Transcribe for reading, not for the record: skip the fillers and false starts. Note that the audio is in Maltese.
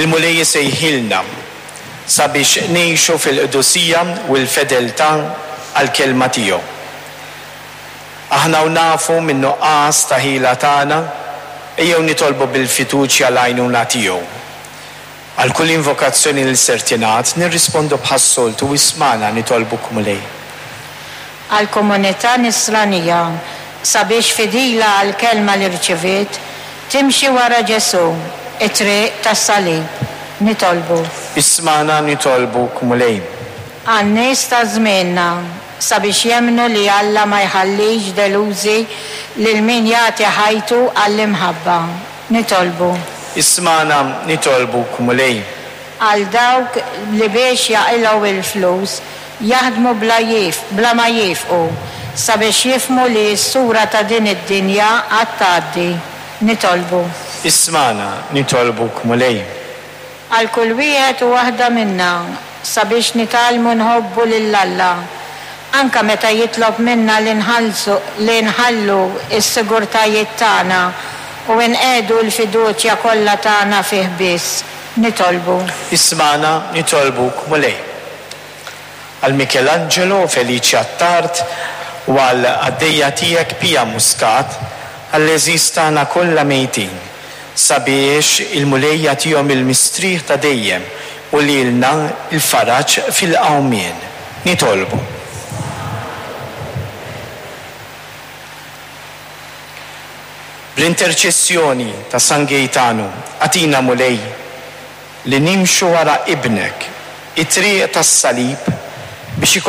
Il-Mulej isejħilna sabiex ngħixu fil-qdusija u l-fedeltà għall-Kelma tiegħu. Aħna u nafu min-nuqqas ta' ħila tagħna, ejjew nitolbu bil-fiduċja l-għajnuna tiegħu. Għal kull invokazzjoni li ser tingħad, nirrispondu bħas-soltu, Ismagħna, nitolbuk Mulej. Għall-komunità Nisranija, sabiex fidila għall-kelma li rċiviet, timxi wara Ġesù, it-triq tas-salib. Nitolbu. Ismagħna, nitolbuk Mulej. Għan-nies ta' żmienna, sabiex jemmnu li Alla ma jħallix delużi lil min jagħti ħajtu għall-imħabba. Nitolbu. Ismagħna, nitolbuk, Mulej. Għal dawk li biex jaqilgħu il-flus jaħdmu bla bla ma jiefqu, sabiex jifhmu li s-sura ta' din id-dinja għad tgħaddi. Nitolbu. Ismagħna, nitolbuk, Mulej. Għal kull wieħed u waħda minna, sabiex nitgħallmu nħobbu lil Alla, anke meta jitlob minna li nħallsu li nħallu s-sigurtajiet tagħna u nqiegħdu l-fiduċja kollha tagħna fih biss. Nitolbu. Ismagħna, nitolbuk, Mulej. Għal Michelangelo Felice Attard u għal qaddejja tiegħek Pia Muscat, għall-għeżież tagħna kollha mejtin, sabiex il-Mulej jagħtihom il-mistrieħ ta' dejjem u lilna l-faraġ fil-qawmien. Nitolbu. Bl-interċessjoni ta' San Gejtanu, agħtina Mulej, li nimxu wara Ibnek, it-triq tas-salib, biex ikollna.